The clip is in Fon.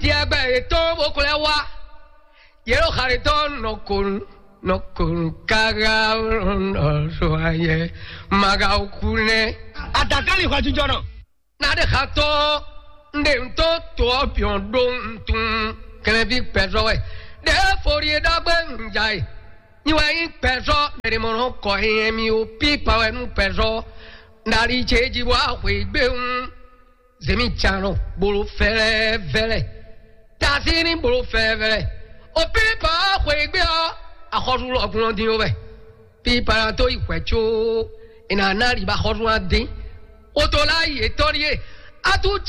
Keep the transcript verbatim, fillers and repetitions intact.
Diagbɛ yětɔn bó xlɛ́ wá. Yě ɖo xa ɖé tɔn nɔ konu, nɔ konu káká nɔ zɔ ayɛ maga okú nɛ. Adakali xɔ jijɔ nɔ. Na ɖe xa tɔn, n ɖe n tó to ɔ́ biɔn ɖó n tun kɛnɛví pɛzɔ wɛ. Ɖe fori e ɖagbe n ja e. Nyi wɛ nyí pɛzɔ mɛ ɖe mɔ nɔ kɔ nyɛ mi o pi pa wɛ nú pɛzɔ. Nali ce ji bɔ axwe gbe un. Zemi tsan nɔ bolo fɛlɛ vɛlɛ. Tasi ní bolo fɛlɛ vɛlɛ. O pi pa axwe gbe ɔ, axɔzu lɔ gun ɔ din o wɛ. Pi pa na to yi hwɛ tso. Ina na li ba xɔzu a din. O to la yi etɔn ɖie. Atu